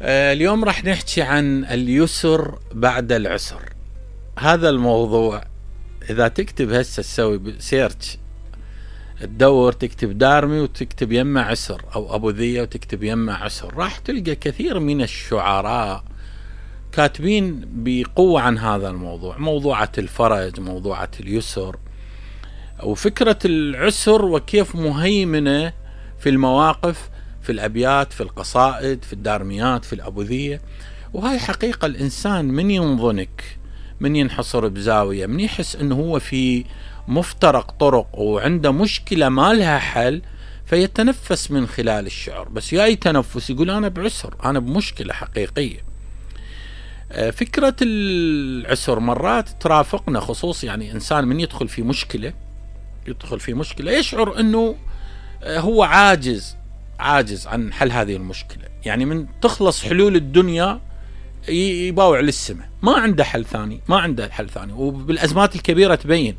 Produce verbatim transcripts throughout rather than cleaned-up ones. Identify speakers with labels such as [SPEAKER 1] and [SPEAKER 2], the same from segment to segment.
[SPEAKER 1] اليوم راح نحكي عن اليسر بعد العسر. هذا الموضوع إذا تكتب هسه تسوي سيرش تدور تكتب دارمي وتكتب يمه عسر أو أبو ذية وتكتب يمه عسر، راح تلقى كثير من الشعراء كاتبين بقوة عن هذا الموضوع، موضوعة الفرج، موضوعة اليسر، وفكرة العسر وكيف مهيمنة في المواقف، في الأبيات، في القصائد، في الدارميات، في الأبوذية. وهاي حقيقة الإنسان من ينظنك، من ينحصر بزاوية، من يحس أنه هو في مفترق طرق وعنده مشكلة ما لها حل، فيتنفس من خلال الشعر. بس ياي تنفس يقول أنا بعسر، أنا بمشكلة حقيقية. فكرة العسر مرات ترافقنا، خصوص يعني إنسان من يدخل في مشكلة يدخل في مشكلة يشعر أنه هو عاجز عاجز عن حل هذه المشكلة. يعني من تخلص حلول الدنيا يباوع للسماء، ما عنده حل ثاني، ما عنده حل ثاني. وبالأزمات الكبيرة تبين،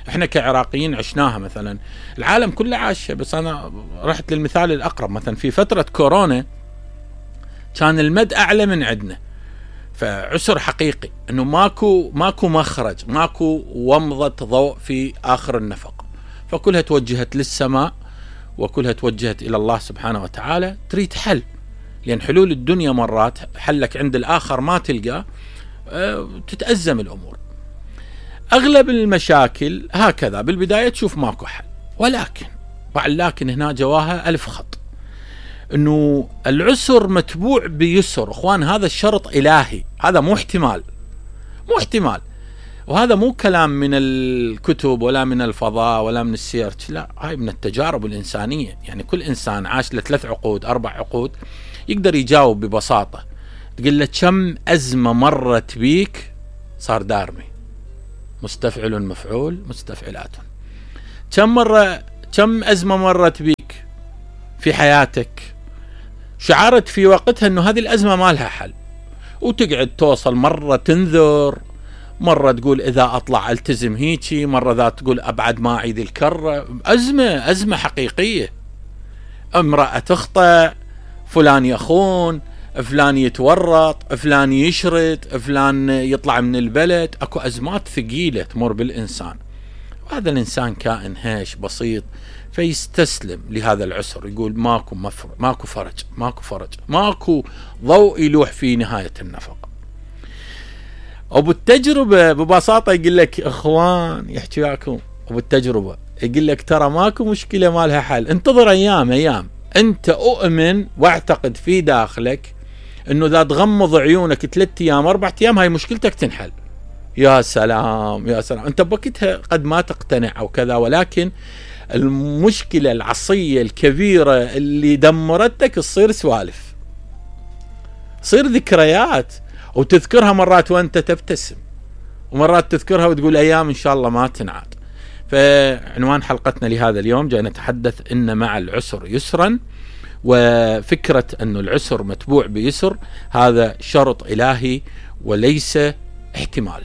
[SPEAKER 1] احنا كعراقيين عشناها، مثلا العالم كله عاشه، بس انا رحت للمثال الاقرب. مثلا في فترة كورونا كان المد اعلى من عندنا، فعسر حقيقي انه ماكو ماكو مخرج، ماكو ومضة ضوء في اخر النفق، فكلها توجهت للسماء وكلها توجهت الى الله سبحانه وتعالى، تريد حل. لان حلول الدنيا مرات حلك عند الاخر ما تلقاه، تتأزم الامور. اغلب المشاكل هكذا بالبداية تشوف ماكو حل، ولكن بعد لكن هنا جواها الف خط، انه العسر متبوع بيسر. اخوان هذا الشرط الهي، هذا مو احتمال، مو احتمال. وهذا مو كلام من الكتب ولا من الفضاء ولا من السيرش، لا، هاي من التجارب الإنسانية. يعني كل إنسان عاش له ثلاث عقود أربع عقود يقدر يجاوب ببساطة. تقول له كم أزمة مرت بيك، صار دارمي، مستفعل مفعول مستفعلات. كم مرة كم أزمة مرت بيك في حياتك، شعرت في وقتها أنه هذه الأزمة ما لها حل، وتقعد توصل مرة تنذر، مرة تقول إذا أطلع ألتزم هيجي، مرة ذات تقول أبعد ما أعيد الكرة. أزمة أزمة حقيقية. امرأة تخطئ، فلان يخون، فلان يتورط، فلان يشرد، فلان يطلع من البلد. أكو أزمات ثقيلة تمر بالإنسان، وهذا الإنسان كائن هاش بسيط، فيستسلم لهذا العسر، يقول ماكو مفر ماكو فرج ماكو فرج ماكو ضوء يلوح في نهاية النفق. وبالتجربة ببساطة يقول لك اخوان، يحكي وياكم وبالتجربة يقول لك ترى ماكو مشكلة ما لها حل، انتظر ايام ايام. انت اؤمن واعتقد في داخلك انه اذا تغمض عيونك ثلاث ايام اربع ايام هاي مشكلتك تنحل. يا سلام يا سلام، انت بوقتها قد ما تقتنع او كذا، ولكن المشكلة العصية الكبيرة اللي دمرتك تصير سوالف، تصير ذكريات، وتذكرها مرات وانت تبتسم، ومرات تذكرها وتقول ايام ان شاء الله ما تنعاد. فعنوان حلقتنا لهذا اليوم جاي نتحدث ان مع العسر يسرا، وفكرة انه العسر متبوع بيسر هذا شرط الهي وليس احتمال.